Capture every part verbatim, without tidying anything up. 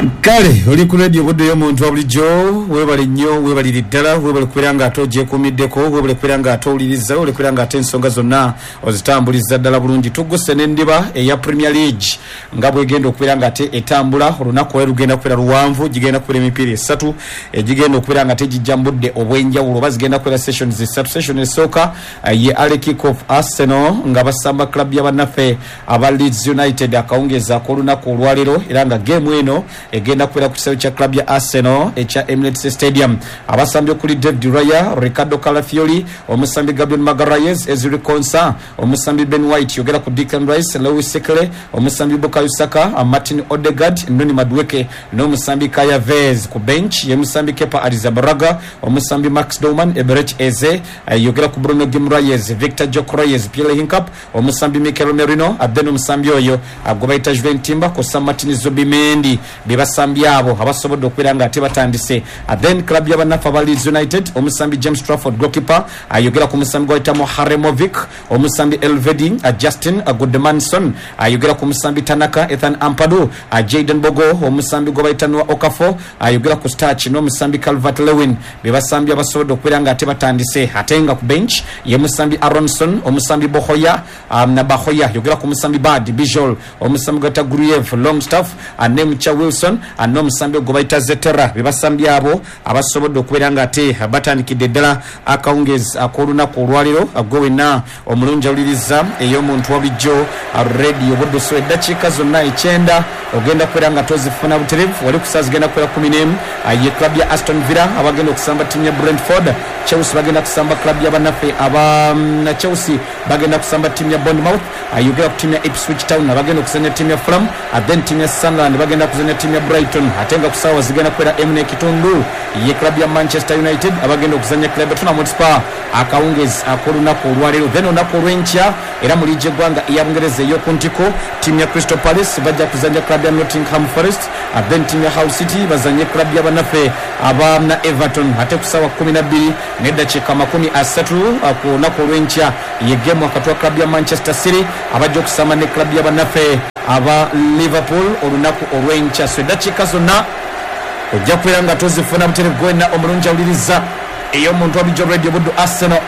Kale oli ku radio Buddu y'omuntu wa bulijjo, weebale nnyo, weebalire ddala, weebale kubeera nga ate ogyekuumiddeko, weebale kubeera nga ate owuliriza, weebale kubeera nga ate ensonga zonna ozitambuliza ddala bulungi. Tugguse n'endiba eya Premier League nga bwegenda okubeera nga ate etambula. Olunaku olwo lugenda kubeera luwanvu, gigenda kubeera emipiira esatu egigenda okubeera nga ate gijja mu budde obw'enjawulo, oba zigenda kubeera sessions esatu. Session esooka ye early kick off, Arsenal nga basamba club y'abannaffe aba Leeds United akawungeezi ak'olunaku olwaleero, era nga game eno egenda kubeera ku kisaawe kya club ya Arsenal ekya Emirates Stadium. Abasambi okuli David Raya, Ricardo Calafiori, omusambi Gabriel Magalhaes, Ezri Konsa, omusambi Ben White, yogera ku Declan Rice, Lewis Skelly, omusambi Bukayo Saka, Martin Odegaard, Noni Madueke n'omusambi Kai Havertz. Ku bench ye musambi Kepa Arrizabalaga, omusambi Max Dowman, Eberechi Eze, yogera ku Bruno Guimaraes, Victor Gyökeres, Pierre Hincap, omusambi Mikel Merino, then omusambi oyo gwe bayita Juven Timber kw'ossa Martin Zubimendi. Be basambi abo abasobodde okubeera nga ate batandise. Then club y'abannaffe aba Leeds United, omusambi James Trafford goalkeeper, ayogera ku musambi gwayita Muharemovic, omusambi Elvedi Justin Goodmanson, ayogera ku musambi Tanaka Ethan Ampadu, Jaden Bogo, omusambi gwe bayita Noah Okafor, ayogera ku Starch n'omusambi Calvert Lewin. Be basambi abasobodde okubeera nga ate batandise. Ate nga ku bench ye musambi Aronson, omusambi Bohoya um, na Bahoya, yogera ku musambi Bad Bijol, omusambi gwayita Gruyev Longstaff, Nemcha Wilson n'omusambi gwe bayita Zetera. Be basambi abo abasobodde okubeera nga ate batandikidde ddala akawungeezi ak'olunaku olwaleero. Gwe wenna omulungi awuliriza ey'omuntu wa bulijjo Radio Buddu, so eddakiika zonna ekyenda ogenda kubeera nga tozifuna butereevu. Wali ku ssaawa zigenda kubeera kumi n'emu ye club ya Aston Villa abagenda okusamba ttiimu ya Brentford. Chelsea bagenda kusamba club ya bannaffe aba Chelsea bagenda kusamba ttiimu ya Bournemouth. Ayogera ku ttiimu ya Ipswich Town abagenda okuzannya ttiimu ya Fulham, then ttiimu ya Sunderland bagenda kuzannya ttiimu ya Brighton. Ate nga ku ssaawa zigenda kubeera emu n'ekitundu ye club ya Manchester United abagenda okuzannya club ya Tottenham Hotspur akawungeezi ak'olunaku olwaleero. Then olunaku olw'enkya era mu liigi y'eggwanga eya Bungereza ey'oku ntiko, ttiimu ya Crystal Palace bajja kuzannya club ya Nottingham Forest, then ttiimu ya Hull City bazanye club ya bannaffe aba na Everton. Ate ku ssaawa kumi na bbiri n'eddakiika makumi asatu ku lunaku olw'enkya ye game wakati wa club ya Manchester City abajja okusamba ne club ya bannaffe aba Liverpool olunaku olw'enkya. So eddakiika zonna ojja kubeera nga tozifuna butereevu. Gwenna omulungi awuliriza ey'omuntu wa bulijjo Radio Buddu, Arsenal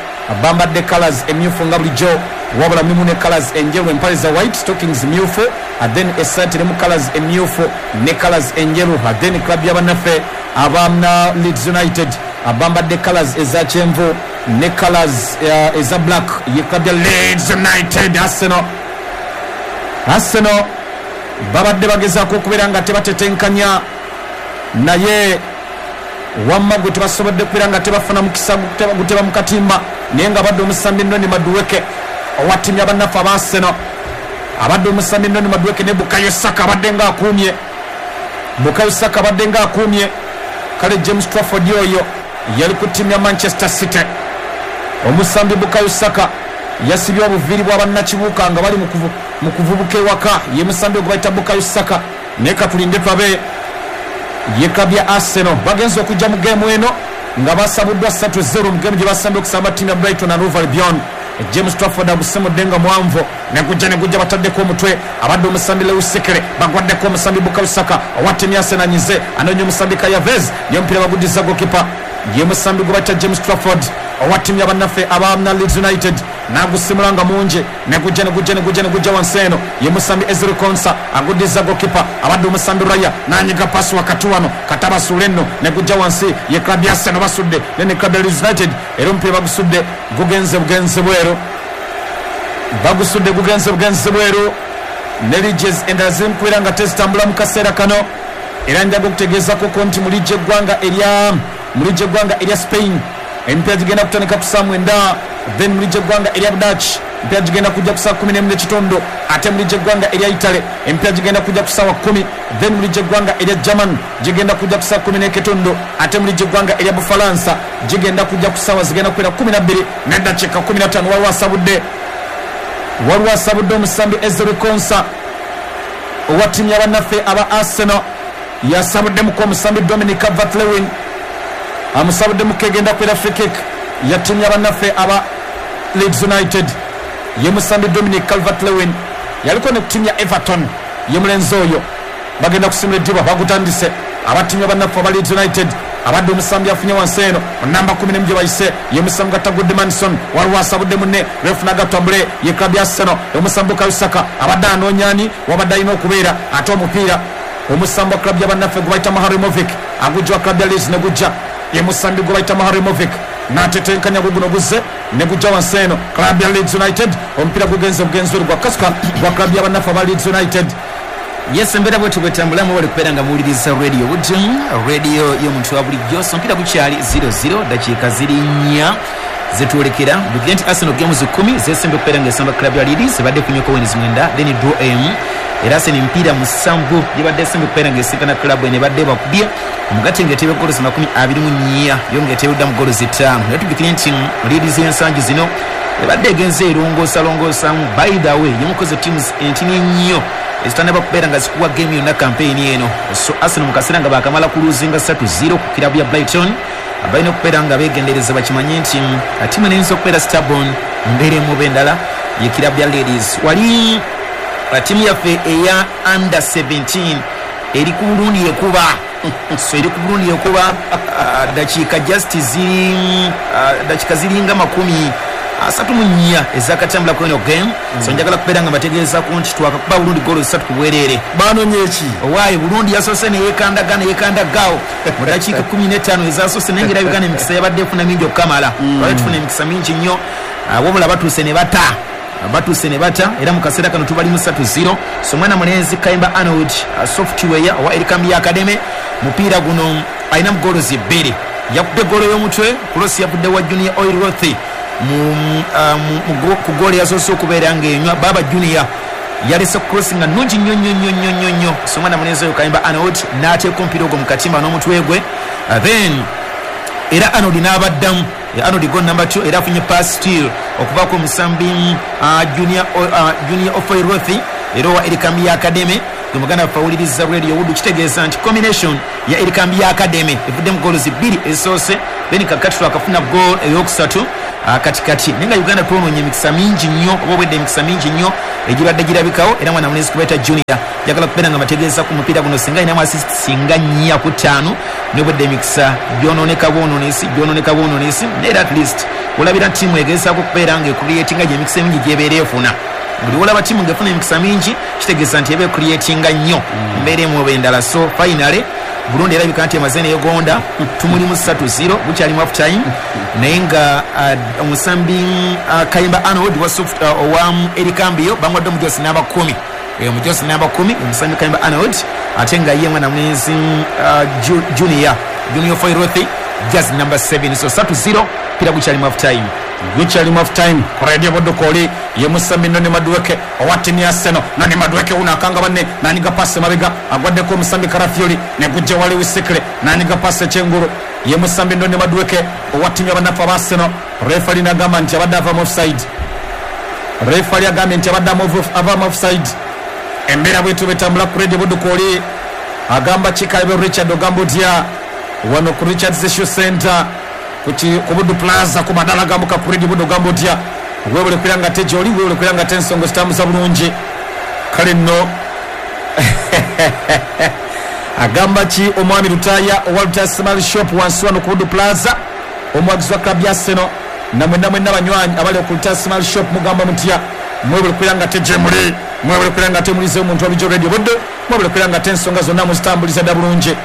bambadde colours emyufu nga bulijjo, wabula mulimu ne colours enjeru, empale za white, stockings myufu, then essaati erimu colours emyufu ne colours enjeru. Then club y'abannaffe aba Leeds United bambadde colours eza kyenvu ne colours uh, eza black, ye club ya Leeds United. Arsenal Arsenal babadde bagezaako okubeera nga tebatetenkanya, naye wamma gwe tebasobodde kubeera nga tebafuna mukisa guteba mu katimba, naye nga abadde omusambi Noni Madueke owa ttiimu y'abannaffe aba Arsenal, abadde omusambi Noni Madueke ne Bukayo Saka abadde nga akuumye, Bukayo Saka abadde nga akuumye. Kale James Trafford oyo yali ku ttiimu ya Manchester City. Omusambi Bukayo Saka yasibye obuviiri bwa bannakibuuka nga bali mu kuvubuka ewaka, ye musambi gwe bayita Bukayo Saka. Naye katulinde tulabe ye club ya Arsenal bagenze okujja mu geemu eno nga basabuddwa ssatu zero mu geemu gye basambye okusamba ttiimu ya Brighton and Hove Albion. James Trafford agusimudde nga mwanvu, negujja negujja bataddeko omutwe, abadde omusambi Lewis Skelly, bagwaddeko omusambi Bukayo Saka owa ttiimu ya Arsenal anyize, anoonya omusambi Kai Havertz, ye omupiira baguddiza goalkeeper, ye musambi gwe bayita James Trafford owa ttiimu y'abannaffe aba Leeds United, n'agusimula nga mungi, negujja negujja negujja negujja wansi eno, ye musambi Ezri Konsa aguddiza goalkeeper, abadde omusambi Raya n'anyiga paasi wakati wano katabasuula enno, negujja wansi, ye club ya Arsenal basudde ne club ya Leeds United, era omupiira bagusudde gugenze bugenze bweru, bagusudde gugenze bugenze bweru. Ne liiges endala ziri mu kubeera nga tezitambula mu kaseera kano, era njaga okutegeezako nti mu liigi y'eggwanga erya mu liigi y'eggwanga erya Spain emipiira gigenda kutandika ku ssaawa mwenda, then mu liigi y'eggwanga erya Dutch emipiira gigenda kujja ku ssaawa kumi n'emu n'ekitundu, ate mu liigi y'eggwanga erya Italy emipiira gigenda kujja ku ssaawa kumi, then mu liigi y'eggwanga erya German gigenda kujja ku ssaawa kumi n'ekitundu, ate mu liigi y'eggwanga erya Bufalansa gigenda kujja ku ssaawa zigenda kubeera kumi na bbiri n'eddakiika kumi na ttaano. Waliwo asabudde waliwo asabudde omusambi Ezri Konsa owa ttiimu y'abannaffe aba Arsenal, yasabuddemuko omusambi Dominic Calvert-Lewin, amusabuddemuko egenda kubeera free kick ya ttiimu y'abannaffe aba Leeds United. Ye musambi Dominic Calvert-Lewin yaliko ne ku ttiimu ya Everton, ye mulenzi oyo. Bagenda kusimula eddiba, bagutandise abatimya bannaffe aba Leeds United. Abadde omusambi afunye wansi eno namba kumi n'emu gye bayise ye musambi gatagudde Manson, waliwo asabudde munne refu n'agatambule ye club ya Arsenal. Omusambi Kayusaka abadde anoonya ani wabadde alina okubeera, ate omupiira omusambi wa club y'abannaffe gwe bayita Maharimovic agujja wa club ya Leeds ne gujja ye musambi gwe bayita Maharimovic n'atetenkanya guguno guzze ne gujja wansi eno club ya Leeds United. Omupiira gugenze bugenzi gwa kasuka gwa club y'abannaffe aba Leeds United. Yes, embeera bwetu bwetambulamu bali kubeera nga muwuliriza radio Buddu, radio y'omuntu wa bulijjo. So omupiira gukyali zero zero, dakiika ziri nnya zetwolekera. Jjukira nti Arsenal games kumi zesembe okubeera ng'esamba club ya Leeds, ebadde ekunyeko wins mwenda then draw emu. Era Arsenal emipiira musanvu gibadde esembe okubeera ng'esinkana club eno ebadde bakubye omugatte ng'eteeba goals makumi abiri mu nnya, yo ng'eteebedda mu goals ttaano. Naye tujjukire nti Leeds y'ensangi zino ebadde egenze erongoosalongoosaamu. By the way, yemukoze teams entini ennyo ezitannaba kubeera nga zikuwa game yonna campaign eno. So Arsenal mu kaseera nga baakamala kuluzinga ssatu zero ku kirabu ya Brighton, balina okubeera nga beegendereza bakimanye nti ttiimu eno eyinza okubeera stubborn mu mbeera emu oba endala ye kirabu ya Leeds. Wali ttiimu yaffe eya under seventeen eri ku Burundi ekuba, so eri ku Burundi ekuba dakiika just ziri dakiika ziringa makumi asatu mu nnya ezakatambula ku eno game. So njagala kubeera nga mbategeezaako nti twakakuba Burundi goolo ssatu ku bwereere. Banonye ki? Owaaye Burundi yasoose neyeekandaga neyeekandagaawo mu dakiika kumi n'ettaano ezasoose, naye ng'era Uganda emikisa yabadde efuna mingi okukamala. Twali tufuna emikisa mingi nnyo, wabula batuuse ne bata batuuse ne bata era mu kaseera kano tubali mu ssatu zero. So mwana mulenzi Kayimba Arnold software owa Erikambi Academy, mupiira guno alina mu goolo bbiri, yakubye goolo y'omutwe, cross yavudde wa Junior Oilroth mu ku goolo yasoose okubeera ng'enywa. Baba Junior yalese cross nga nnungi nnyo nnyo nnyo nnyo nnyo nnyo. So mwana mulenzi oyo Kayimba Arnold n'ateeka omupiira ogwo mu katimba n'omutwe gwe, then era Arnold n'abaddamu. Arnold goal number two, era afunye pass steal okuvaako omusambi Junior Junior Ofoiroth era owa Erikambi Academy. Gwe muganda waffe awuliriza radio Buddu, kitegeeza nti combination ya Erikambi Academy evudde mu goals bbiri ezisoose, then kakati twakafuna goal eyokusatu katikati. Naye nga Uganda twonoonye emikisa mingi nnyo oba obwedde emikisa mingi nnyo egibadde girabikawo. Era mwana mulenzi kubeeta Junior njagala kubeera nga mbategeeza ku mupiira guno singa alinamu assist singa nnya ku ttaano, n'obwedde emikisa gyonooneka bwonoonesi gyonooneka bwonoonesi. Naye era at least olabira ttiimu egezaako okubeera nga ecreatinga gye emikisa emingi gyebeera efuna. Buli wolaba ttiimu ng'efuna emikisa mingi kitegeeza nti eba ecreatinga nnyo mbeera emu oba endala. So finally Burundi erabika nti emaze neyegonda, tumuli mu ssatu zero, bukyalimu half time. Naye nga omusambi Kayimba Arnold owa Erikambiyo bamuwadde omujosi namba kumi, omujosi namba kumi omusambi Kayimba Arnold, ate nga ye mwana mulenzi Junior Junior Foirothi just number seven. So ssatu zero, pira bukyalimu half time. Gukyali half time ku radio Buddu koli ye musambi Noni Madueke owa ttiimu ya Arsenal. Noni Madueke uno akanga banne n'anyiga pasi mabega agwaddeko omusambi Karafioli ne gujja wali Wisekere n'anyiga pasi ekyengulu ye musambi Noni Madueke owa ttiimu y'abannaffe aba Arsenal. Refali n'agamba nti abadde ava mu offside. Refali agambye nti abadde ava mu offside. Embeera bwetu betambula ku radio Buddu koli agamba Kikaebe Richard ogamba otya wano ku Richards Shoe Center ku Buddu Plaza ku madala gambuka ku radio Buddu ogamba otya webule kwiranga te gyoli webule kwiranga te ensonga zitambuza bulungi. Kale nno agamba ki omwami Lutaya owa Lutaya Small Shop wansi wano ku Buddu Plaza, omwagizi wa club ya Arsenal, namwenna mwenna banywanyi abali ku Lutaya Small Shop mugamba mutya mwebule kwiranga te gye muli, mwebule kwiranga te mulize omuntu wa bulijjo radio Buddu, mwebule kwiranga te ensonga zonna muzitambuliza dda bulungi.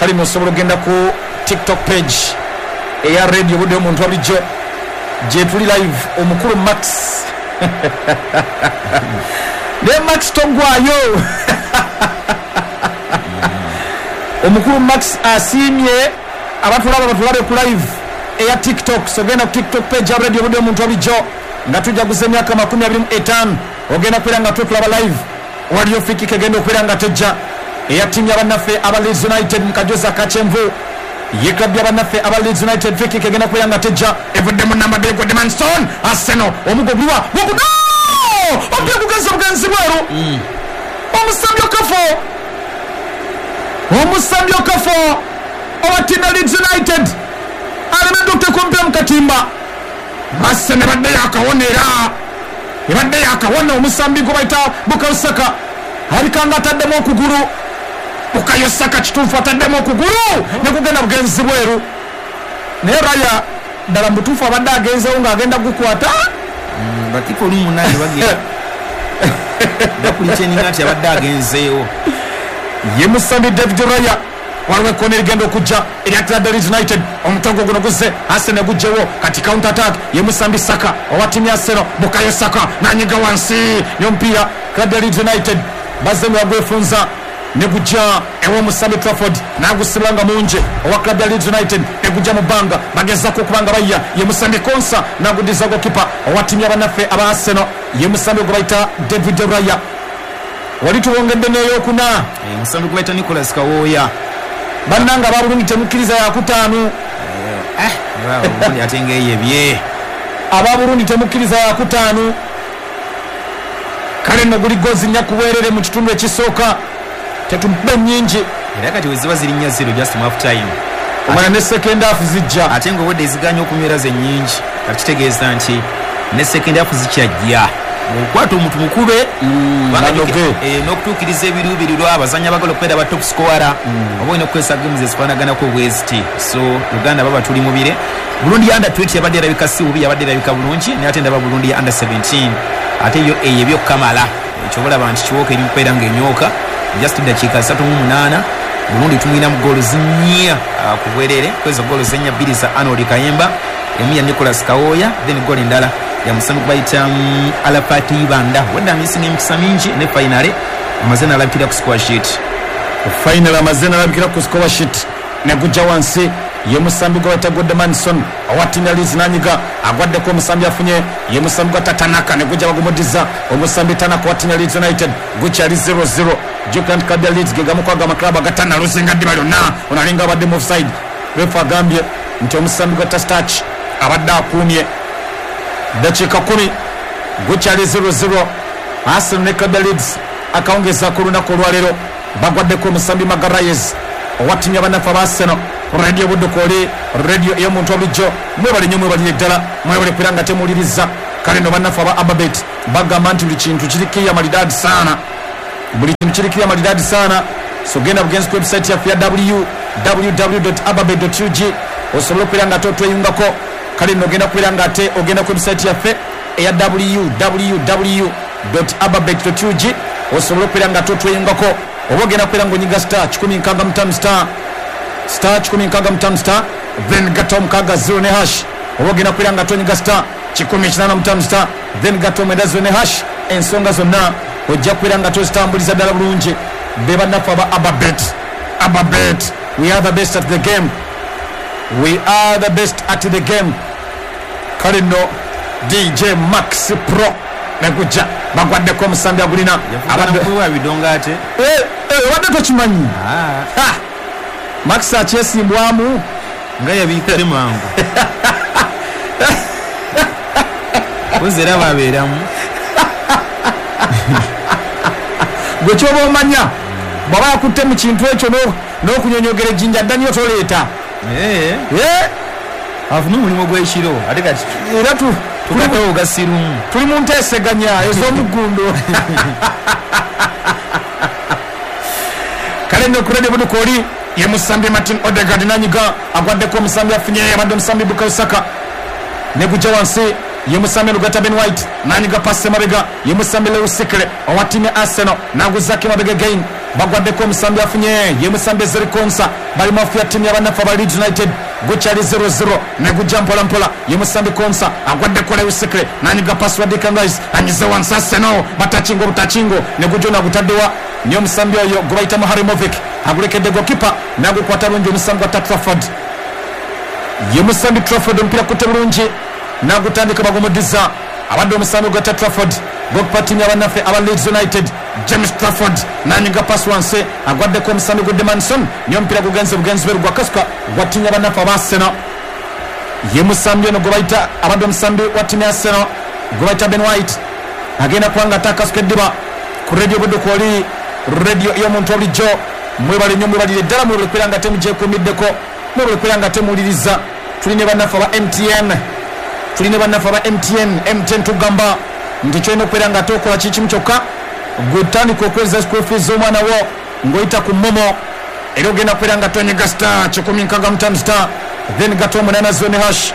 Kale musobola okugenda ku TikTok page eya radio Buddu omuntu wa bulijjo gye tuli live, omukulu Max ne Max togwayo omukulu Max asiimye abatulaba batulabe ku live eya TikTok. So genda ku TikTok page ya radio Buddu omuntu wa bulijjo nga tujaguza emyaka makumi abiri mu etaano, ogenda kubeera nga tutulaba live. Waliyo free kick egenda okubeera nga tejja eya ttiimu y'abannaffe aba Leeds United mu kajozi akakyenvu. Ye club y'abannaffe aba Leeds United free kick egenda kubeera nga tejja evudde mu namba bbiri Godman Arsenal omugo guliwa gugudo omupiira gugenze bugenzi bweru. Omusambi Okafo omusambi Okafo owa ttiimu ya Leeds United alemedde okuteeka omupiira mu katimba. Arsenal ebadde yakawona era ebadde yakawona omusambi gwe bayita Bukayo Saka alabika nga ataddemu okugulu Bukayo Saka kituufu ataddemu okugulu ne kugenda bugenzi bweru. Naye Raya ddala mutuufu abadde agenzeewo ng'agenda gukwata. Bakipa olumu munange bagenda bakulikyeninga nti abadde agenzeewo. Ye musambi David Raya. Waliwo ekkona erigenda okujja erya Club Leeds United. Omutongo guno guzze Arsenal gujjewo kati counter attack ye musambi Saka owa ttiimu ya Arsenal. Bukayo Saka nanyiga wansi n'omupiira Club Leeds United bazze nga bagwefunza ne gujja ew'omusambi Trafford n'agusibula nga mungi owa Club Leeds United ne gujja mu bbanga bagezaako okuba nga bayya ye musambi Konsa n'aguddiza gokipa owa ttiimu y'abannaffe aba Arsenal ye musambi gwe bayita David Raya. Wali tuwongedde n'eyokuna omusambi gwe bayita Nicholas Kawooya. Bannanga aba Burundi temukkiriza yakutaano. Ate ng'eyebye aba Burundi temukkiriza yakutaano. Kale nno guli gozi nnya ku bwerere mu kitundu ekisooka, tetumpe nnyingi era kati we ziba ziri nnya zero just half time omwana ne second half zijja ate ng'obwedde eziganya okunywera ze nnyingi kati kitegeeza nti ne second half zikyajja. Okwata omuntu mukube n'okutuukiriza ebiruubirirwa abazannyi abagala okubeera ba top scorer oba olina okukozesa games ezifaanaganako bweziti. So Uganda baba tuli mubire. Burundi ya under twenty yabadde erabika si bubi, yabadde erabika bulungi naye ate ndaba Burundi ya under seventeen ate yo eyo ebyokukamala ekyo olaba nti kiwooka eri mukubeera ng'enyooka just ddakiika asatu mu munaana Burundi tumwina mu goolo zinnya ku bwerere kwezo goolo zennya bbiri za Arnold Kayemba, emu ya Nicholas Kawooya then goolo endala ya musambi gwe bayita Alafat Ibanda. Wedde amisinga emikisa mingi ne finale amaze n'alabikira ku score sheet. Finale amaze n'alabikira ku score sheet ne gujja wansi ye musambi gwe bayita Godmanson owa ttiimu ya Leeds n'anyiga agwaddeko omusambi afunye ye musambi gwa Tatanaka ne gujja bagumuddiza omusambi Tanaka owa ttiimu ya Leeds United gukyali zero zero. Jjukira nti club ya Leeds ge gamu ku ago amaklabu agatanaluzinga ddiba lyonna ono alinga abadde mu offside. Refa agambye nti omusambi gwa Tastach abadde akuumye. Dakiika kumi gukyali zero zero. Arsenal ne club ya Leeds akawungeeza ku lunaku olwaleero bagwaddeko omusambi Magalhaes owa ttiimu y'abannaffe aba Arsenal. Radio Budukoli, radio ey'omuntu obulijjo, mwebale nnyo mwebalire ddala mwebale kubeera nga temuwuliriza. Kale nno bannaffe aba Ababet bagamba nti buli kintu kiri kiriya malidaadi saana, buli kintu kiri kiriya malidaadi saana. So genda bugenzi ku website yaffe ya w w w dot ababet dot u g osobola okubeera nga ate otweyungako. Kale nno ogenda kubeera nga ate ogenda ku website yaffe eya w w w dot ababet dot u g osobola okubeera nga ate otweyungako oba ogenda kubeera ng'onyiga star kikumi nkaaga mu ttaano star star kikumi nkaaga mu ttaano star then gatta omukaaga zero ne hash oba ogenda kubeera nga tonyiga star kikumi kinaana mu ttaano star then gatta omwenda zero ne hash. Ensonga zonna ojja kubeera nga tozitambuliza ddala bulungi. Be bannaffe aba Ababet. Ababet, we are the best at the game, we are the best at the game. Kale nno D J Max Pro negujja bagwaddeko omusambi agulina abadde ate obadde tokimanyi Max akyesimbwamu nga yabiikale mangu ozi era babeeramu gwe kyoba omanya bw'aba yakutte mu kintu ekyo n'okunyonyogera ejjinja dda nnyo toleeta afune omulimu gw'ekiro ate kati era tugatewo gasirumu tuli mu nteeseganya ez'omuggundo. Kale nno ku Radio Budukoli ye musambi Martin Odegaard nanyiga agwaddeko omusambi afunye abadde omusambi Bukayo Saka ne gujja wansi ye musambi Lugata Ben White nanyiga pasi emabega ye musambi Lewis Sikle owa ttiimu ya Arsenal n'aguzaako emabega again bagwaddeko omusambi afunye ye musambi Ezri Konsa bali mu afu ya ttiimu y'abannaffe aba Leeds United gukyali zero zero ne gujja mpola mpola ye musambi Konsa agwaddeko Lewis Sikle nanyiga pasi wa Declan Rice anyize wansi Arsenal batakingo butakingo ne gujja nagutaddewa niyo omusambi oyo gwe bayita Muharimovic agulekedde gokipa n'agukwata bulungi omusambi gwa Trafford ye musambi Trafford omupiira kutte bulungi n'agutandika bagumuddiza abadde omusambi gwa Trafford gokipa ttiimu y'abannaffe aba Leeds United James Trafford n'anyiga pasi wansi agwaddeko omusambi gwa Demanson niyo omupiira gugenze bugenzi bweru gwa kasuka gwa ttiimu y'abannaffe aba Arsenal ye musambi ono gwe bayita abadde omusambi wa ttiimu ya Arsenal gwe bayita Ben White agenda kuba nga ate akasuka eddiba ku Radio Budukoli, radio ey'omuntu obulijjo. Mwebale nnyo mwebalire ddala mwebale kubeera nga temugyekuumiddeko mwebale kubeera nga temuwuliriza. Tuli ne bannaffe aba M T N, tuli ne bannaffe aba M T N. M T N tugamba nti kyolina okubeera nga ate okola kikimu kyokka gwe tandika okweza school fees z'omwana wo Ng'oyita ku momo era ogenda kubeera nga tonyiga star kikumi nkaaga mu ttaano star then gato omunaana zone hash.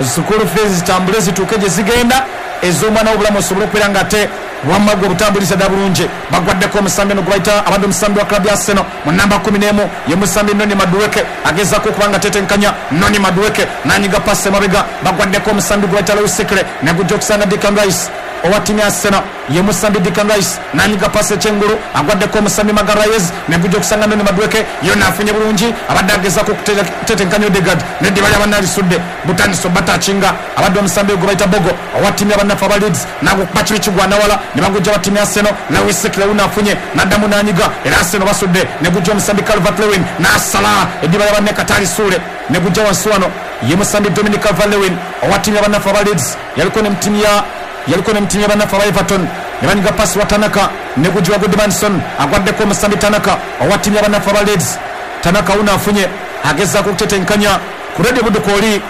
School fees zitambule zituuke gye zigenda ez'omwana w'obulamu osobole okubeera nga ate wamma gwe obutambuliza dda bulungi. Bagwaddeko omusambi eno gwe bayita abadde omusambi wa club ya Arsenal mu namba kumi n'emu ye musambi Noni Madueke agezaako okuba nga tetenkanya. Noni Madueke n'anyiga pasi emabega. Bagwaddeko omusambi gwe bayita Lewis Skelly ne gujja okusanga Declan Rice owa ttiimu ya Arsenal ye musambi Declan Rice n'anyiga pasi ekyengulu agwaddeko omusambi Magalhaes ne gujja okusanga Noni Madueke yonna afunye bulungi abadde agezaako okutetenkanya Odegaard neddiba ly'abannalisudde butandise obatakinga abadde omusambi gwe bayita Bogo owa ttiimu y'abannaffe aba Leeds n'agukuba kibi kigwanawala ne bagujja ba ttiimu ya Arsenal. Lewis Skelly wuno afunye n'addamu n'anyiga era Arsenal basudde ne gujja omusambi Calvert-Lewin n'asala eddiba ly'abanne katalisuule ne gujja wansi wano ye musambi Dominic Calvert-Lewin owa ttiimu y'abannaffe aba Leeds yaliko ne mu ttiimu ya yaliko ne mu ttiimu y'abannaffe aba Everton ne banyiga pasi wa Tanaka ne gujja wa Goodmanson agwaddeko omusambi Tanaka owa ttiimu y'abannaffe aba Leeds. Tanaka wuno afunye agezaako okutetenkanya ku Radio Budukooli,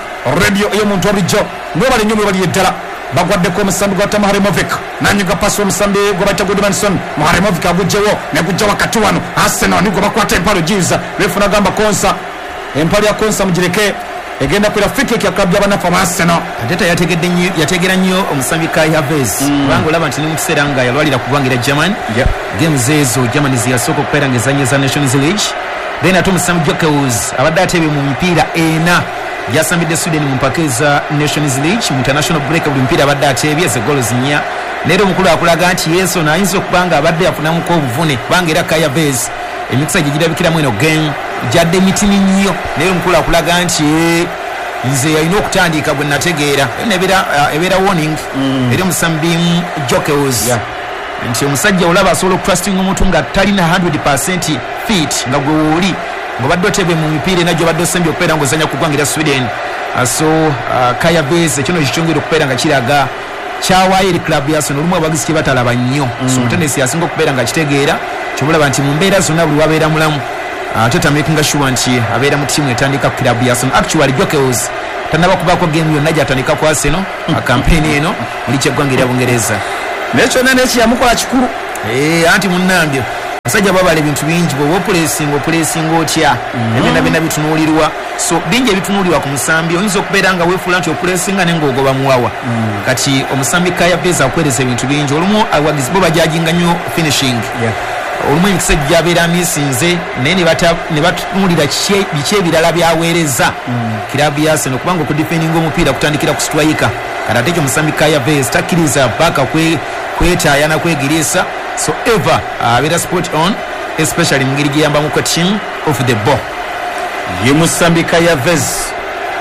radio ey'omuntu wa bulijjo. Mwebale nnyo mwebaliye ddala. Bagwaddeko omusambi gwa Muharemovic nanyiga pasi omusambi gwe bayita Goodmanson. Muharemovic agugjewo ne gujja wakati wano Arsenal nigwe bakwata empalo giiza refu nagamba Konsa empalo ya Konsa mugireke egenda kwera free kick ya club y'abannaffe aba Arsenal. Arteta yategedde nnyo yategera nnyo omusambi Kai Havertz kubanga olaba nti ne mu kiseera nga yalwalira ku ggwanga erya Germany Yeah. games ezo Germany zeyasooka okubeera ng'ezannya za Nations League. Then ate omusambi Gyökeres abadde atebye mu mipiira ena gyasambidde Sweden mu mpaka eza Nations League mu international break buli mupiira abadde atebye ze goals nnya. Naye omukulu akulaga nti Yesu ayinza okuba nga abadde yafunamuko obuvune kubanga era Kai Havertz emikisa gye girabikiramu eno game gyadde mitini nnyo naye omukulu akulaga nti eh, nze yalina okutandika bwe nategeera ebeera ebeera warning eri omusambi Gyökeres Yeah. nti omusajja olaba asobola okutrustinga omuntu nga talina one hundred percent fit nga gwe wooli ng'obadde otebe mu mipiira ena gy'obadde osembye okubeera ng'ozannya ku ggwanga erya Sweden. Uh, so uh, Kai Havertz ekyo kikyongera okubeera nga kiraga kyawaayo eri club ya Arsenal olumu abawagizi kye batalaba nnyo. So omutendesi asinga okubeera nga kitegeera kyobulaba nti mu mbeera zonna buli wabeera mulamu ate tamakinga sure nti abeera mu ttiimu etandika ku club ya Arsenal. Actually, Gyökeres tannaba kubaako game yonna gy'atandika ku Arsenal campaign eno muli kyeggwanga erya Bungereza. Naye kyonna nekiyamukola kikulu. Eh, anti munnange abasajja babala ebintu bingi bw'oba opulesinga opulesinga otya ebyonna byonna bitunuulirwa so bingi ebitunuulirwa ku musambi oyinza okubeera nga weefuula nti opulesinga naye ng'ogoba muwawa. Kati omusambi Kai Havertz akuweereza ebintu bingi olumu abawagizi bo bajajinga nnyo finishing Yeah. olumu emikisa gyabeera amisinze naye ne bata- ne batunuulira kiki biki ebirala byaweereza kirabu ya Arsenal kubanga okudefendinga omupiira kutandikira ku striker. Kati ate ekyo omusambi Kai Havertz takkiriza baka kwe- kwetaaya na kwegiriisa so ever abeera spot on especially mu ngeri gyeyambamuko team off the ball. Ye musambi Kai Havertz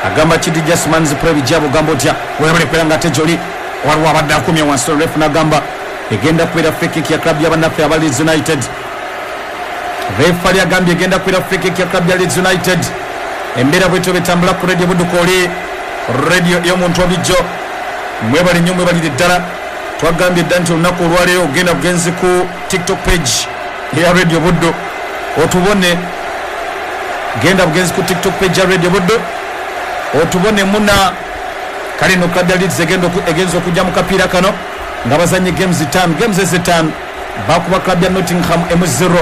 agamba kiti Jasmans Previjabo ogamba otya webale kubeera nga ate gyoli waliwo abadde akumye wansi ref nagamba egenda kubeera free kick ya club y'abannaffe aba Leeds United. Refali agambye egenda kubeera free kick ya club ya Leeds United. Embeera bwetyo betambula ku Radio Budukooli, radio ey'omuntu obijjo. Mwebale nnyo mwebalire ddala. Twagambye dda nti olunaku olwaleero ogenda bugenzi ku TikTok page eya Radio Buddo otubone. Genda bugenzi ku TikTok page ya Radio Buddo otubone muna. Kale no club ya Leeds egenda oku- egenza okujja mu kapiira kano nga bazanye games ttaano. Games ezitaano bakuba club ya Nottingham emu zero,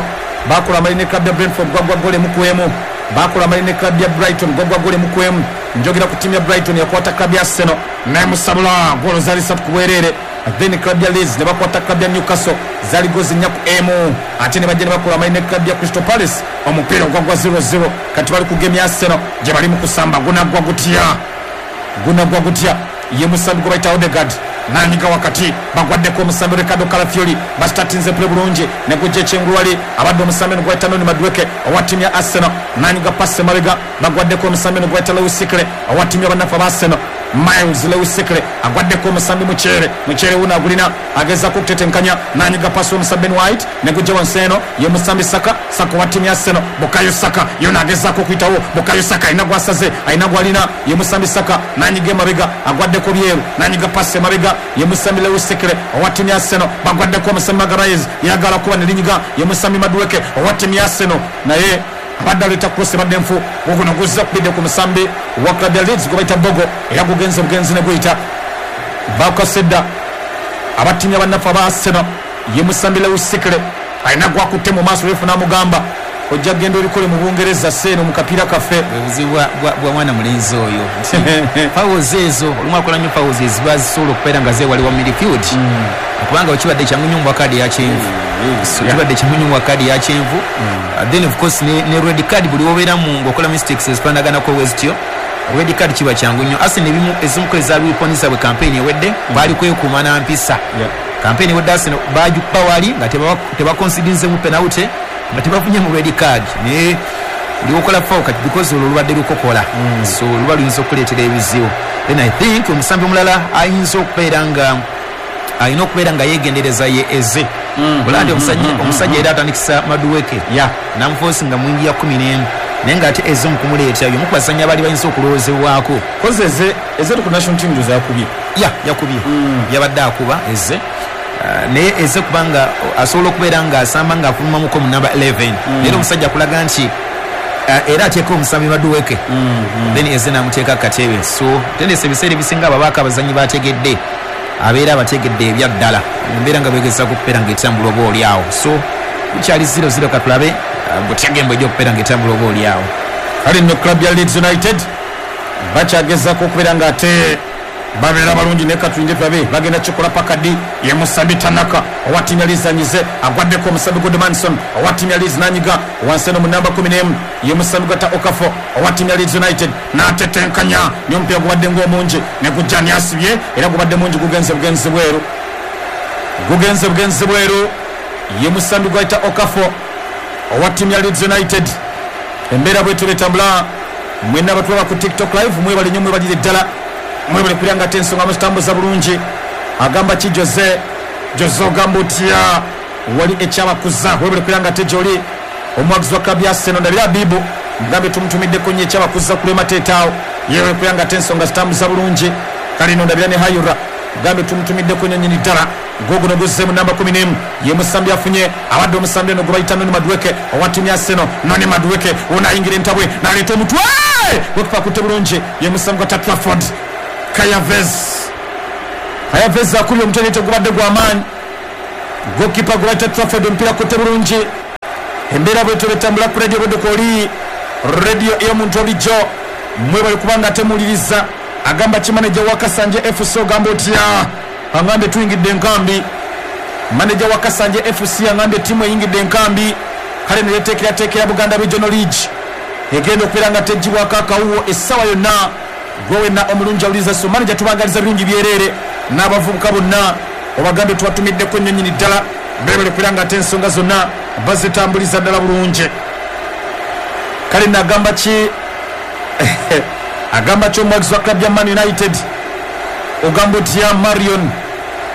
bakola amali ne club ya Brentford gwagwa gol emu ku emu, bakola amali ne club ya Brighton gwagwa gol emu ku emu. Njogera ku ttiimu ya Brighton yakwata club ya Arsenal nemusabula golo zaali satu ku bwereere. Then club ya Leeds ne bakwata club ya Newcastle zaali gozi nnya ku emu, ate ne bajja ne bakola amali ne club ya Crystal Palace omupiira ogwagwa zero zero. Kati bali ku game ya Arsenal gye bali mu kusamba. Gunaggwa gutya? Gunaggwa gutya? Ye musambi gwe bayita Odegaard nanyiga wakati bagwaddeko omusambi Ricardo Calafiori basitatinze play bulungi ne gujja ekyengulwali abadde omusambi eno gwayita Noni Madueke owa ttiimu ya Arsenal nanyiga pasi emabega bagwaddeko omusambi eno gwayita Lewis Skelly owa ttiimu y'abannaffe aba Arsenal. Myles Lewis Skelly agwaddeko omusambi Mukyere. Mukyere wuno agulina agezaako okutetenkanya nanyiga pasi omusambi Ben White ne gujja wansi eno ye musambi Saka. Saka owa ttiimu ya Arsenal. Bukayo Saka yona agezaako okuyitawo. Bukayo Saka alina gwasaze alina gwalina ye musambi Saka nanyiga emabega agwaddeko byeru nanyiga pasi emabega ye musambi Lewis Skelly owa ttiimu ya Arsenal bagwaddeko omusambi Magalhaes yagala kuba nelinyiga ye musambi Madueke owa ttiimu ya Arsenal naye abadde aleeta cross ebadde nfu. Guguno guzza kubidde ku musambi wa club ya Leeds gwe bayita Bogo era gugenze bugenzi ne guyita bakasedda abattiimu bannaffe aba Arsenal ye musambi Lewis Skelly Alina gwakutte mu maaso refu n'amugamba ojja kugenda obikole mu Bungereza seeno mu kapiira kaffe. Obuzibu bwa mwana mulenzi oyo fouls ezo olumu akola nnyo fouls eziba zisobola okubeera nga zeewaliwa midfield, kubanga okibadde kyangu nnyo mu kadi ya kyenvu, so kibadde kyangu nnyo mu kadi ya kyenvu. Then of course ne, ne red card buli wobeeramu ng'okola mistakes ezifaanaganako bwe zityo, red card kiba kyangu nnyo. Arsenal ebimu ezimu ku ezabiponisa bwe campaign ewedde baali kwekuuma na mpisa. Campaign ewedde Arsenal bagikuba wali nga tebaconsidinzemu penalty, nga tebafunye mu red card, naye liwokola foul kati because olwo lubadde lukokola, so luba luyinza okuleetera ebizibu. Then I think omusambi omulala ayinza okubeera nga alina okubeera nga yeegendereza ye Eze. Olaba nti omusajja era atandikisa Madueke namuforce nga mwingi ya kumi n'emu, naye ng'ate Eze mukumuleeta yomu ku bazannyi abaali bayinza okulowoozebwako. Koze Eze, Eze ku national team ndoza yakubye. Ya, yakubye, yabadde akuba Eze. Naye Eze kubanga asobola okubeera ng'asamba ng'afulumamuko mu namba eleven, naye omusajja akulaga nti era ateeka omusambi Madueke, then Eze n'amuteeka katebe. So tendesa ebiseera ebisinga ababaako abazannyi bategedde, abeera abategedde ebyaddala embeera nga bwegezaako okubeera ng'etambula oba oli awo. So kukyali zero zero, katulabe butya gembo ejja okubeera ng'etambula oba oli awo. Kale nno club ya Leeds United bakyagezaako okubeera ng'ate babeera balungi, naye katulinde tulabe bagenda kikola pakadi. Ye musambi Tanaka owa ttiimu ya Leeds anyize, agwaddeko omusambi Gudmundsson owa ttiimu ya Leeds n'anyiga wansi eno mu namba kumi n'emu, ye musambi gwata Okafor owa ttiimu ya Leeds United n'atetenkanya, naye omupiira gubadde ng'omungi ne gujja ni asibye, era gubadde mungi, gugenze bugenzi bweru, gugenze bugenzi bweru. Ye musambi gwayita Okafor owa ttiimu ya Leeds United. Embeera bwetyo betambula. Mwenna abatulaba ku TikTok live, mwebale nnyo, mwebalire ddala, mwebale kulya nga ate ensonga muzitambuza bulungi. Agamba ki Jose? Jose ogamba otya? Wali ekyabakuza, webale kulya nga ate gyoli omwagizi wa club ya Arsenal. Ndabira Abibu, mugambe tumutumiddeko nnyo ekyabakuza kulema teetaawo, yebale kulya nga ate ensonga zitambuza bulungi. Kale no ndabira ne Hayura, mugambe tumutumiddeko nnyo nnyini ddala. Goguno guzze mu namba kumi n'emu, ye musambi afunye, abadde omusambi ono gwe bayita Noni Madueke owa ttiimu ya Arsenal. Noni Madueke ono ayingira entabwe n'aleeta omutwe, gwekupa kutte bulungi, ye musambi gwa Trafford Kai Havertz. Kai Havertz akubye omutwe naye tegubadde gw'amaanyi. Gokipa gwe bayita Trafford omupiira kutte bulungi. Embeera bwetyo betambula ku Radio Budde, oli radio ey'omuntu olijjo, mwebale kubanga temuwuliriza. Agamba ki maneja wa Kasanje F C? Ogamba otya? Agambye tuyingidde enkambi. Maneja wa Kasanje F C agambye ttiimu eyingidde enkambi, kale neyeteekerateekera Buganda Regional League egenda okubeera nga tegibwako akawuwo essaawa yonna. Gwe wenna omulungi awuliriza, so maneja tubagaliza birungi byereere n'abavubuka bonna, obagambe tubatumiddeko nnyo nnyini ddala, bebale kubeera nga ate ensonga zonna bazitambuliza ddala bulungi. Kale nagamba ki, agamba ki omwagizi wa club ya Man United? Ogamba otya Marion?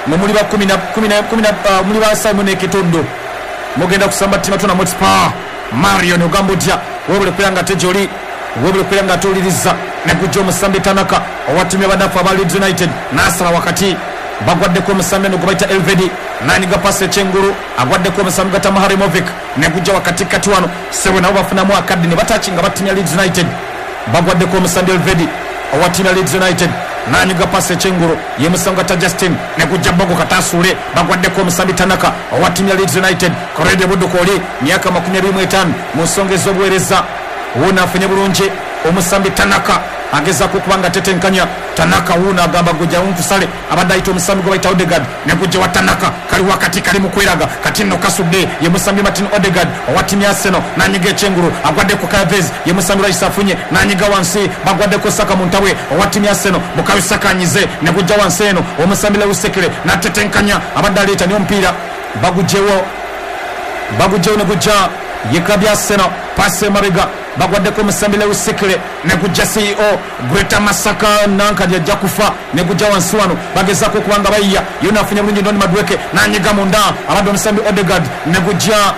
Mwe muli ba kumi na- kumi na- kumi na- ah, muli ba Simon Ekitondo, mugenda kusamba ttima Tottenham Hotspur. Marion ogamba otya? Webale kubeera nga ate gyoli, webale kubeera nga ate negujja omusambi Tanaka owa ttiimu y'abanafu aba Leeds United n'asala wakati, bagwaddeko omusambi eno gwe bayita Elvedi nanyiga pasi ekyengulu, agwaddeko omusambi gwa Muharemovic negujja wakati kati wano sebo nabo bafunamu akadde ne batakinga ba ttiimu ya Leeds United. Bagwaddeko omusambi Elvedi owa ttiimu ya Leeds United nanyiga pasi ekyengulu, ye musambi gwa Justin negujja bogo katasuule, bagwaddeko omusambi Tanaka owa ttiimu ya Leeds United. Korede Budduka oli myaka makumi abiri mu etaano mu nsonga ez'obuweereza, wuuno afunye bulungi omusambi Tanaka, agezaako okuba nga tetenkanya. Tanaka wuuno agamba gujja nkusale, abadde ayita omusambi gwe bayita Odegaard, negujja wa Tanaka, kali wakati kali mu kweraga, kati nno kasudde, ye musambi Martin Odegaard owa ttiimu ya Arsenal nanyiga ekyengulu, agwaddeko Kai Havertz, ye musambi Rice afunye nanyiga wansi, bagwaddeko Saka mu ntabwe owa ttiimu ya Arsenal. Bukayo Saka anyize negujja wansi eno, omusambi Lewis Skelly natetenkanya, abadde aleeta naye omupiira bagugjewo, bagugjewo negujja ye club ya Arsenal. Pasi emabega, bagwaddeko omusambi Lewis Skelly negujja C E O Greater Masaka nankadi ajja kufa, negujja wansi wano, bagezaako okuba nga bayiya, yona afunye bulungi Noni Madueke nanyiga munda, abadde omusambi Odegaard negujja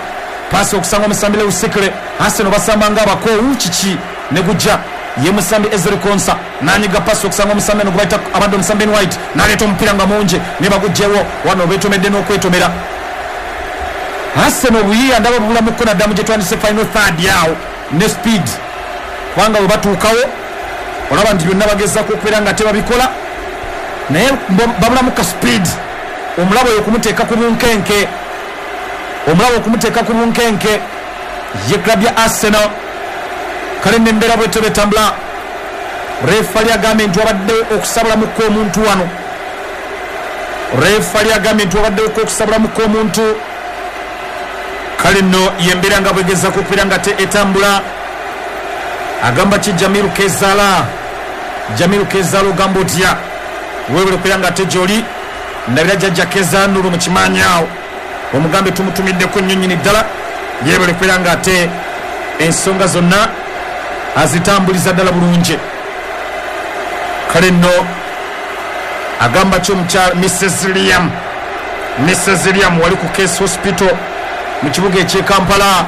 pasi okusanga omusambi Lewis Skelly. Arsenal basamba nga abakoowu kiki, negujja ye musambi Ezri Konsa nanyiga pasi okusanga omusambi eno gwe bayita abadde omusambi Ben White naleeta omupiira nga mungi ne bagugjewo wano, beetomedde n'okwetomera. Arsenal obuyiiya ndaba bubulamuko naddamu gye twandise final third yawo ne speed, kubanga bwe batuukawo olaba nti byonna bagezaako okubeera nga tebabikola, naye babulamu ka speed omulabo oyo okumuteeka ku bunkenke. Omulabe okumuteeka ku bunkenke ye club ya Arsenal. Kale nembeera bwetyo betambula. Refali agambye nti wabaddewo okusabulamuko omuntu wano. Refali agambye nti wabaddewo okusabulamuko omuntu. Kale nno yembeera nga bwegezaako okubeera nga te etambula. Agamba ki Jamiru Kezala? Jamiru Kezala ogamba otya? Weebale okubeera nga ate gy'oli. Ndabira jjajja Kezala Nuru mu kimaanyi awo, omugambe tumutumiddeko nnyo nnyini ddala. Yeebale okubeera nga ate ensonga zonna azitambuliza ddala bulungi. Kale nno agamba ki omukyala Missus Liam? Missus Liam wali ku Case Hospital mu kibuga eky'e Kampala.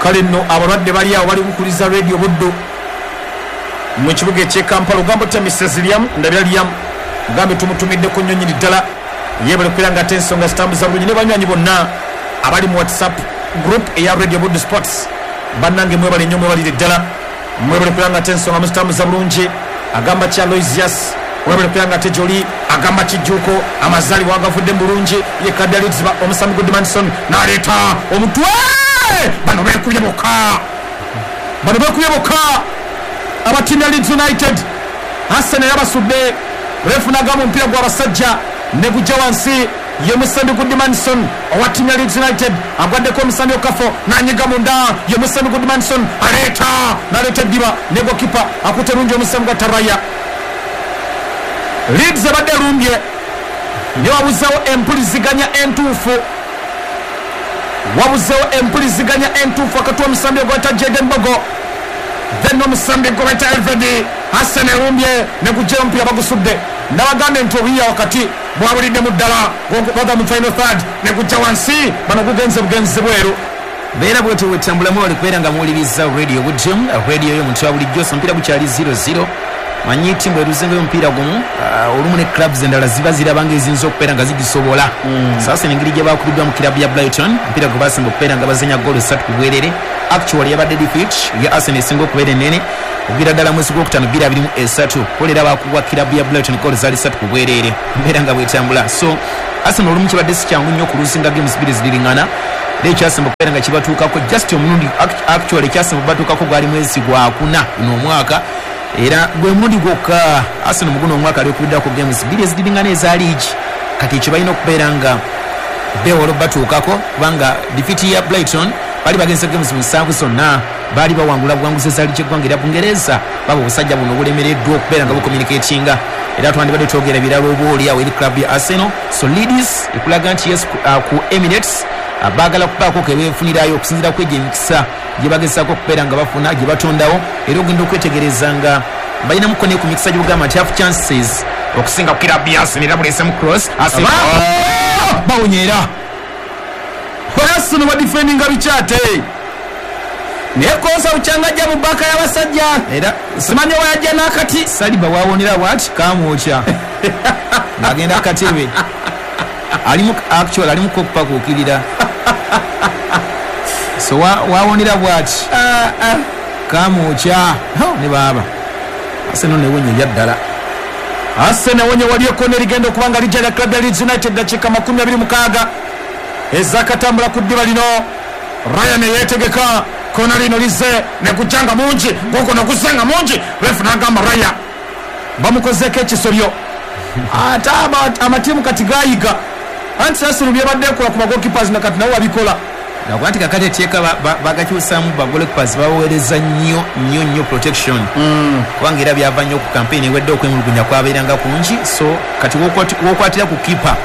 Kale nno abalwadde bali awo bali kukuliza Radio Buddu mu kibuga eky'e Kampala. Ogamba otya Missus Liam? Ndabira Liam mugambe tumutumiddeko nnyo nnyini ddala. Yeebale okubeera nga ate ensonga zitambuza bulungi ne banywanyi bonna abali mu WhatsApp group eya Radio Buddu Sports. Bannange mwebale nnyo, mwebalire ddala, mwebale okubeera nga ate ensonga muzitambuza bulungi. Agamba ki Aloysius? Webale okubeera nga ate gy'oli. Agamba kijjuuko amazaalibwa agavudde mu bulungi ye club ya Leeds omusambi Goodmanson n'aleeta omutwe. Bano beekubye bokka, bano beekubye bokka aba ttiimu ya Leeds United. Arsenal yabasudde. Refu n'agamba omupiira gw'abasajja ne gujja wansi. Ye musambi Goodmanson owa ttiimu ya Leeds United agwaddeko omusambi Okafo n'anyiga munda. Ye musambi Goodmanson aleeta n'aleeta eddiba ne gokipa akutte bulungi omusambi gwa Taraya. Leeds ebadde erumbye ne wabuzeewo empuliziganya entuufu, wabuzeewo empuliziganya entuufu wakati w'omusambi ogwayita Jaden Bogo then n'omusambi gw'obayita Elvedi. Arsenal erumbye ne gujjayo omupiira bagusudde. Nabagambye nti obuyiiya wakati bwabuliddemu ddala baga mu final third ne gujja wansi. Bano gugenze bugenzi bweru. Beera bwetyo bwetambulamu wali kubeera nga muwuliriza Radio Buddu, radio y'omuntu wa bulijjo. So omupiira gukyali zero zero. Manyi ttiimu eruzengayo omupiira gumu, uh, olumu ne clubs endala ziba ziraba ng'eziyinza okubeera nga zigisobola. Mm. Sasa engeri gye bakubiddwa mu club ya Brighton, omupiira gwe basemba okubeera nga bazanya goolo ssatu ku bwerere. Actually yabadde defeat ya Arsenal esinga okubeera ennene okuviira ddala mwezi gwokutaano bbiri abiri mu esatu. Kolera baakubwa club ya Brighton goolo zaali ssatu ku bwerere. Mbeera nga bwetambula. So Arsenal olumu kibadde si kyangu nnyo okuluzinga games bbiri ziriŋŋana. Era ekyasemba okubeera nga kibatuukako just omulundi actually ekyasemba okubatuukako gwali mwezi gwakuna guno omwaka. Era gwe mulundi gwokka Arsenal mu guno omwaka alikubiddwako games bbiri eziriŋŋana eza liigi. Kati ekyo balina okubeera nga beewala obbatuukako kubanga defeat ya Brighton bali bagenze games musanvu zonna baali bawangula buwanguzi eza liigi eggwanga erya Bungereza. Baba obusajja buno bulemereddwa okubeera nga bucommunicatinga. Era twandibadde twogera birala oba oli awo eri club ya Arsenal. So Leeds ekulaga nti yes ku, uh, ku Emirates uh, baagala kubaako ke beefunirayo okusinziira ku egyo emikisa gye bagezaako okubeera nga bafuna gye batondawo. Era ogenda okwetegereza nga balinamuko ne ku mikisa gy'ogamba nti half chances okusinga ku club ya Arsenal. Era buleesemu cross Arsenal bawonye era Arsenal badifendinga bikyate naye kosa bukyangajja mu baka y'abasajja. Era simanyi oba yajja n'akati. Saliba wawonera bwati kamwokya ng'agenda akatebe alimu actually alimu kokupakuukirira. So wawonera bwati kamwokya ne baaba Arsenal newonye ebyaddala. Arsenal wonye waliyo kona erigenda okuba nga lijja lya club ya Leeds United. Dakiika makumi abiri mukaaga ezakatambula ku ddiba lino. Ryan yeetegeka kona lino lizze ne gujja nga mungi guguno guzze nga mungi. Refu n'agamba Raya bamukozeeko ekisobyo. Ate amatiimu kati gayiga anti Arsenal byebadde ekola ku bagoalkeepers na kati nabo babikola. Nakuba nti kakati etteeka bagakyusaamu bagoalkeepers babaweereza nnyo nnyo nnyo protection. Mm. Kubanga era byava nnyo ku campaign ewedde okwemulugunya kwabeeranga kungi. So kati wokwatira ku keeper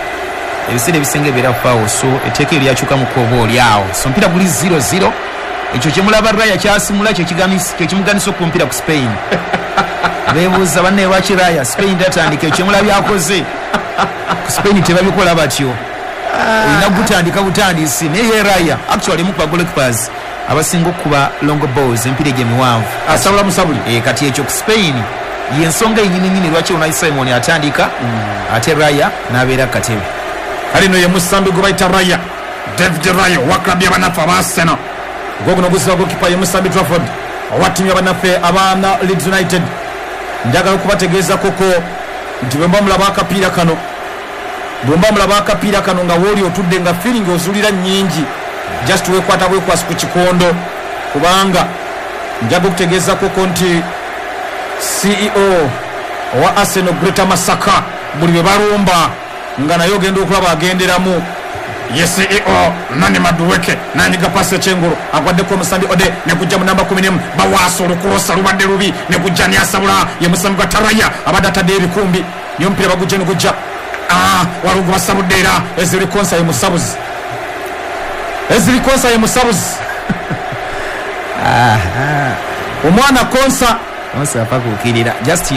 ebiseera ebisinga ebeera foul. So etteeka eryo lyakyukamuko oba oli awo. So omupiira guli zero zero. Ekyo kyemulaba Raya kyasimula kyekimuganisa okuba omupiira ku Spain. Beebuuza banne lwaki Raya Spain tatandika. Ekyo kyemulabye akoze ku Spain tebabikola batyo. Olina gutandika butandisi. Naye ye Raya actually mu goalkeepers abasinga okukuba long balls empiira egyo emiwanvu asabula musabuli. E, kati ekyo ku Spain yensonga yennyini nnyini lwaki Unai Simon atandika mm. ate Raya n'abeera katebe. Kale no ye musambi gwe bayita Raya, David Raya owa club y'abannaffe aba Arsenal. Gwoguno guzza goalkeeper ye musambi Trafford owa ttiimu y'abannaffe aba Leeds United. Njagala okubategeeza koko nti bwe mba mulaba akapiira kano Bwomba mulaba akapiira kano nga wooli otudde nga feeling ozulira nnyingi, just wekwata bwekwasi ku kikondo, kubanga njaga okutegeezako nti C E O owa Arsenal Greater Masaka buli bwe balumba nga naye ogenda okulaba agenderamu. Ye C E O Nani Madueke nanyiga pasi ekyengulu agwaddeko omusambi Ode nekujja mu namba kumi n'emu bawaasa olukulosa lubadde lubi nekujja niyasabula ye musambi gwa Taraya abadde atadde ebikumbi niyo omupiira bagujja negujja waliwo gwe basabudde era Ezri Konsa ye musabuzi, Ezri Konsa ye musabuzi. Omwana Konsa Konsa apakuukirira just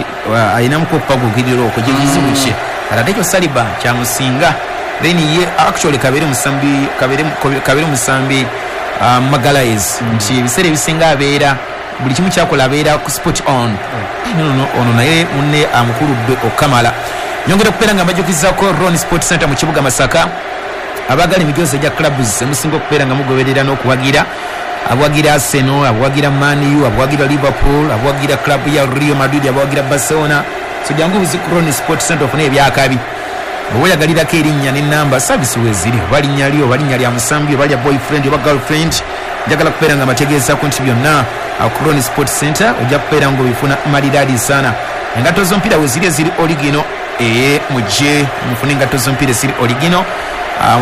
ayinamuko okupakuukirira okwo gyekizibu kye ate ekyo Saliba kyamusinga. Then ye actually kabere musambi kabere kabere musambi uh, Magalhaes nti ebiseera ebisinga abeera buli kimu kyakola abeera ku spot on. No no ono naye munne amukuludde okamala. Nyongera okubeera nga mbajjukizaako Ron Sport Center mu kibuga Masaka, abaagala emijoozi egya clubs emusinga okubeera nga mugoberera n'okuwagira, abawagira Arsenal, abawagira Man U, abawagira Liverpool, abawagira club ya Real Madrid, abawagira Barcelona. So jangu buzi ku Ron Sport Center ofune ebyakabi. Bw'oba oyagalirako erinnya n'ennamba service weeziri, oba linnya lyo, oba linnya lya musambi, oba lya boyfriend oba girlfriend, njagala kubeera nga mbategeezaako nti byonna ku Ron Sport Center ojja kubeera ng'obifuna maliraadi sana. Engatto z'omupiira weeziri eziri oligino, ee mujje mufune engatto z'omupiira eziri oligino.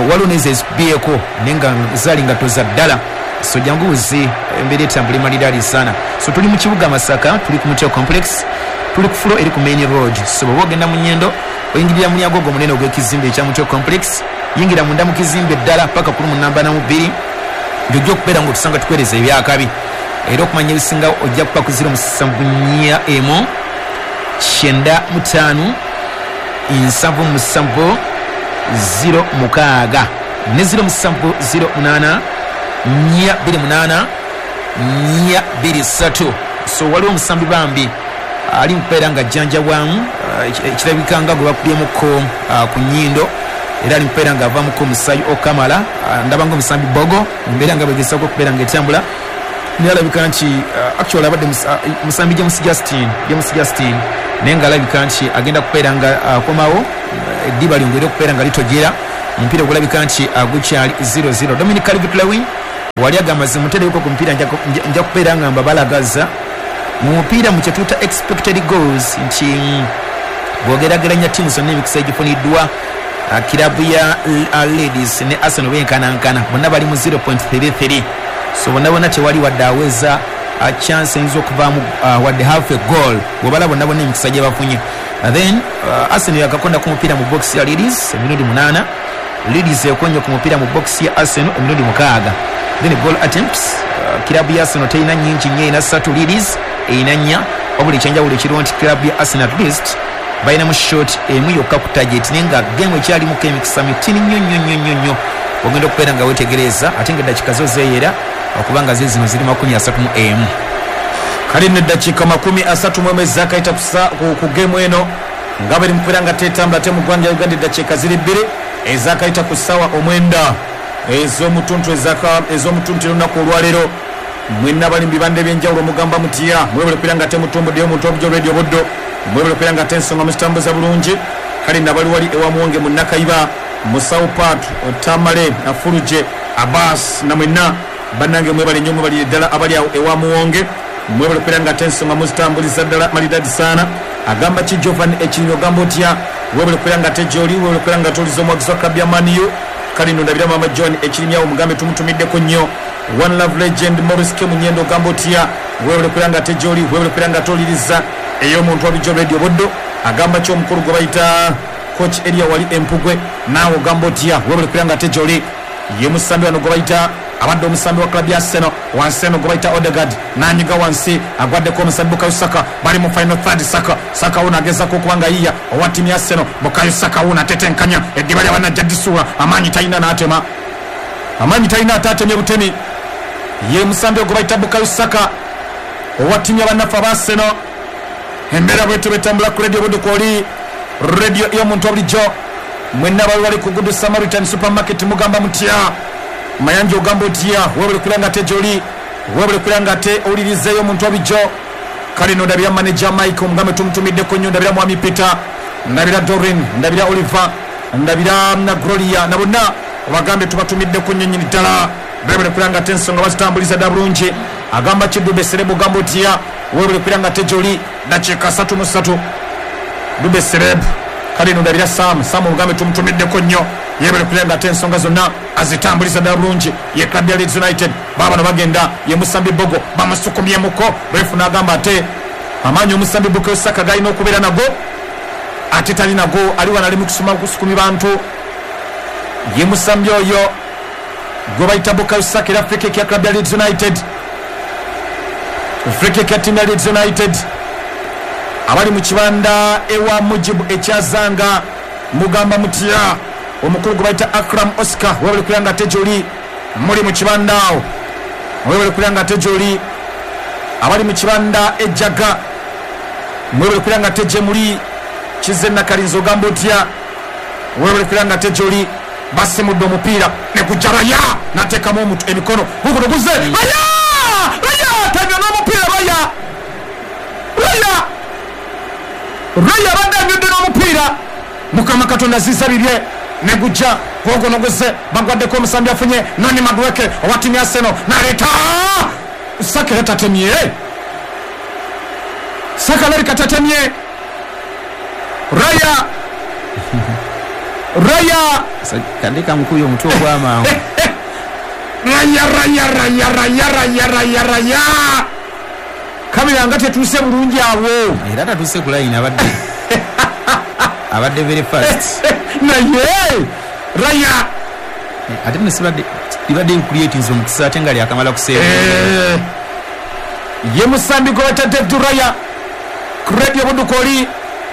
Waliwo n'ezo ezikubyeko naye nga zaali ngatto za ddala. So jangu buzi embeera etambula maliraadi sana. So tuli mu kibuga Masaka, tuli ku Muteo Complex, tuli ku fulo eri ku main road. So bw'oba ogenda mu Nyendo oyingirira mu mulyango ogwo omunene ogw'ekizimbe ekya Muteo Complex, yingira munda mu kizimbe ddala paka ku lumu namba na mu bbiri, ng'ojja okubeera ng'otusanga tukuweereza ebyakabi. Era okumanya ebisinga ojja kuba ku ziro musanvu nnya emu kyenda mu ttaano nsanvu musanvu ziro mukaaga ne ziro musanvu ziro munaana nnya bbiri munaana nnya bbiri ssatu. So waliwo omusambi bambi ali mukubeera nga ajjanjabwamu, ekirabika nga gwe bakubyemuko ku nnyindo, era ali mukubeera nga avaamuko omusaayi okamala. Ndaba nga omusambi Bogo embeera nga bwegezaako okubeera nga etambula, naye alabika nti actually abadde musambi James Justin, James Justin naye nga alabika nti agenda kubeera nga akomawo, eddiba lyongere okubeera nga litojera. Omupiira ogulabika nti gukyali zero zero. Dominic Calvert-Lewin wali agamba zimutereko ku mupiira nja kubeera nga mbabalagaza mu mupiira mu kyetuuta expected goals nti bw'ogeraageranya ttiimu zonna emikisa egifuniddwa, kirabu ya Ladies ne Arsenal benkanankana, bonna bali mu zero point three three. So bonna bonna tewali wadde aweza chance eyinza okuvaamu wadde half a goal bw'obala bonna bonna emikisa gye bafunye. Then uh, Arsenal yakakonda ku mupiira mu box ya Ladies emirundi munaana, Ladies ekonye ku mupiira mu box ya Arsenal emirundi mukaaga. Then goal attempts, uh, kirabu ya Arsenal terina nnyingi nnyo, erina ssatu, Ladies erina nnya. Wabula ekyenjawulo ekiriwo nti kirabu ya Arsenal at least balinamu shot emu yokka ku target, naye nga game ekyalimuko emikisa mitini nnyo nnyo nnyo nnyo nnyo ogenda okubeera nga weetegereza, ate nga eddakiika zo zeeyera okubanga ze zino ziri makumi asatu mu emu. Kale nno eddakiika makumi asatu mu emu ezaakayita ku geemu eno nga bali mukubeera nga tetambula ate mu ggwanga lya Uganda eddakiika ziri bbiri ezaakayita ku ssaawa omwenda ez'omutuntu ez'omutuntu olunaku olwaleero. Mwenna bali mu bibanda ebyenjawulo mugamba mutya, mwebale kubeera nga temutumbuddeyo omuntu obujo Radio Buddo, mwebale kubeera nga tensonga muzitambuza bulungi. Kale nno abali wali ewa Muwonge mu Nakayiba, Musawo Pat, Tamale, Afuluje, Abbas na mwenna bannange mwebale nnyo, mwebalire ddala abali awo ewa Muwonge, mwebale kubeera nga tensonga muzitambuliza ddala malidadi sana. Agamba ki Jovan Ekinyo ogamba otya, webale kubeera nga tejoli, webale kubeera nga toliza omuwagizi wa club ya Man U. Kale nno ndabira Mama John Ekirimyawo mugambe tumutumiddeko nnyo. One Love Legend Maurice K Munyendo ogamba otya, webale kubeera nga tejoli, webale kubeera nga toliriza ey'omuntu wabulijjo Radio Buddo. Agamba ki omukulu gwe bayita Coach Elia wali Empugwe, naawe ogamba otya, webale kubeera nga tejoli. Ye musambi wano gwe bayita abadde omusambi wa club ya Arsenal wansi eno gwe bayita Odegaard nanyiga wansi agwaddeko omusambi Bukayo Saka, bali mu final third. Saka Saka wuno agezaako okuba nga yiya owa ttiimu ya Arsenal. Bukayo Saka wuno atetenkanya eddiba lya bannajja ddisuula, amaanyi talina n'atema, amaanyi talina ate atemye butemi. Ye musambi ogwe bayita Bukayo Saka owa ttiimu ya bannaffe aba Arsenal. Embeera bwetyo betambula ku Radio Buddo kwoli radio y'omuntu wabulijjo. Mwenna bali wali ku Good Samaritan Supermarket mugamba mutya, Mayanja ogamba otya, webale kubeera nga ate gy'oli, webale kubeera nga ate owulirizeeyo omuntu wabulijjo. Kale nno ndabira manager Mike omugambe tumutumiddeko nnyo, ndabira Mwami Peter, ndabira Dorin, ndabira Oliver, Ndabira na Gloria na bonna obagambe tubatumiddeko nnyo nnyini ddala. Webale kubeera nga ate ensonga bazitambuliza dda bulungi. Agamba Kidube Serebo gamba otya, webale kubeera nga ate gyoli dakiika asatu mu ssatu. Dube Serebo kale ndabira Sam, Sam omugambe tumutumiddeko nnyo, yebale kubeera nga ate ensonga zonna azitambuliza ddala bulungi. Ye club ya Leeds United baabano bagenda, ye Musambi Bogo bamusukumyemuko, refu n'agamba ate amaanyi omusambi Bukayo Saka galina okubeera nago ate tali nago, ali wano ali mu kusuma kusukumi bantu. Ye musambi oyo gwe bayita Bukayo Saka, era free kick ya club ya Leeds United, free kick ya team ya Leeds United. Abali mu kibanda ewa Mujibu ekyazanga mugamba mutya, omukulu gwe bayita Akram Oscar webale kubeera nga ate gyoli muli mu kibanda awo, webale kubeera nga ate gyoli. Abali mu kibanda ejaga mwebale kubeera nga ate gye muli. Kize Nakalinzi ogamba otya, webale kubeera nga ate gyoli. Basimudde omupiira ne gujja Raya n'ateekamu emikono, guguno guzze Raya, Raya tanywa n'omupiira, Raya, Raya, Raya abadde anywedde n'omupiira. Mukama Katonda aziza bibye ne gujja guguno guzze, bagwaddeko omusambi afunye Noni Madueke owa ttiimu ya Arsenal n'aleeta Saka era tatemye, Saka alabika tatemye. Raya, Raya kandika mukubye omutwe ogw'amangu. Raya, Raya, Raya, Raya, Raya, Raya, Raya, kamera nga tetuuse bulungi awo, era tatuuse ku layini, abadde abadde very fast naye Raya ate nesibadde libadde creating omukisa ate nga lyakamala kuseera. Ye musambi gwe bayita David Raya ku Radio Budukoli,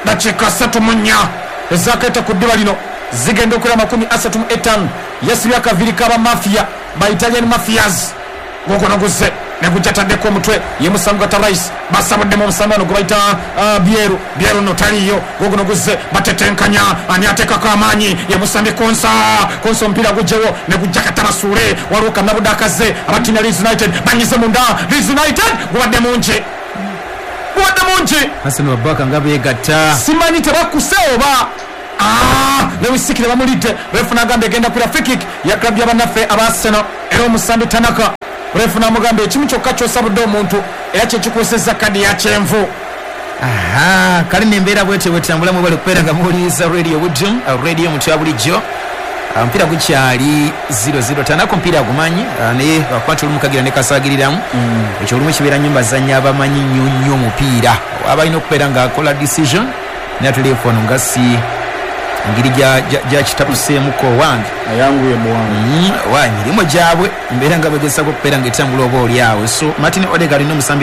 dakiika asatu mu nnya ezakaita ku ddiba lino zigenda okulaba makumi asatu mu etaano. Yasibye akaviiri k'aba mafia ba Italian mafias, guguno guzze ne gujja ataddeko omutwe, ye musambi gwata Rice, basabuddemu omusambi wano gwe bayita Bieru, Bieru no taliiyo, guguno guzze batetenkanya, ani ateekako amaanyi, ye musambi Konsa, Konsa omupiira gujjewo ne gujja katabasuule, waliwo Kannabudde akazze, aba ttiimu ya Leeds United banyize munda, Leeds United gubadde mungi, gubadde mungi. Arsenal babaka nga beegatta, simanyi tebakuse oba Lewis Sikire bamulidde, refu n'agamba egenda kwira free kick ya club y'abannaffe aba Arsenal, era omusambi Tanaka, refu n'amugamba ekimu kyokka ky'osabudde omuntu era kye kikuusizza kadi ya kyenvu. Aha, kale nembeera bwetyo bwetambula, mwebale kubeera nga muwuliriza Radio Buddu, radio mutya bulijjo. Omupiira gukyali zero zero, Tanaka omupiira agumanyi naye bakwata olumu kagira ne kasaagiriramu. Ekyo olumu kibeera nnyo bazanyi abamanyi nnyo nnyo omupiira, abalina okubeera ng'akola decision naye atuleefu wano nga si engeri gyakitabuseemuko owange ayanguye muwange wa emirimu gyabwe mbeera nga begezaako okubeera ng'etambula oba oli awo. So Martin Odegaard n'omusambi